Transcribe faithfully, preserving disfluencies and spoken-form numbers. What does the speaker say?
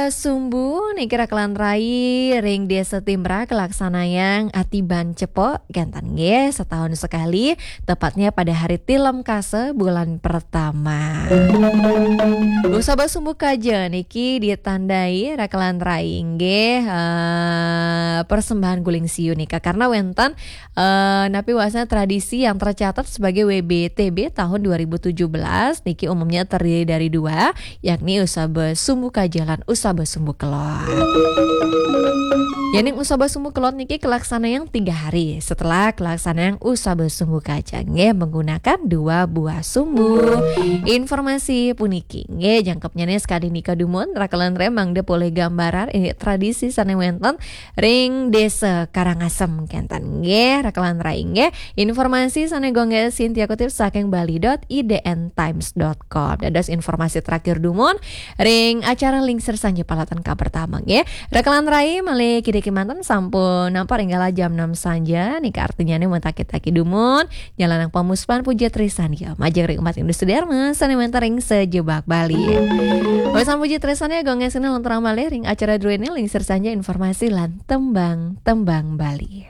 Sumbu niki rakelan rai ring Desa Timbrah kalaksanayang atiban cepok, kénten nggih, setahun sekali, tepatnya pada hari Tilem Kasa bulan pertama. Usaba sumbu kaja niki ditandai rakelan rai nggih, eh, persembahan guling siu nika karena wénten eh, napi wasna tradisi yang tercatat sebagai W B T B tahun dua ribu tujuh belas niki umumnya terdiri dari dua, yakni usaba sumbu kaja lan usaba sumbu kelod. Yaning usaba sumbu kelod niki kalaksanayang tiga hari setelah kalaksanayang usaba sumbu kaja nggih menggunakan dua buah sumbu. Informasi puniki nggih jangkepnya nih sekali nika dumun rakelan rai mangda polih gambaran ini tradisi sané wénten ring Desa Karangasem kénten nggih, rakelan rai nggih. Informasi sané Gung Gék Sintia kutip saking bali dot I D N times dot com. Dados informasi terakhir dumun ring acara Lingsir Sanja Palatan ka pertama nggih. Rakelan rai malih kidiki manten sampun nampak ring galah jam enam sanja, nika artinya nih mutaki-taki dumun, nyalanang pamuspan puja trisan ya, majeng ring umat Hindu sedherma sané wénten ring sajebag Bali. Pamuspan puja trisan ya, Gung Gék Sintia lanturang malih ring acara druéné Lingsir Sanja informasi lan tembang-tembang Bali.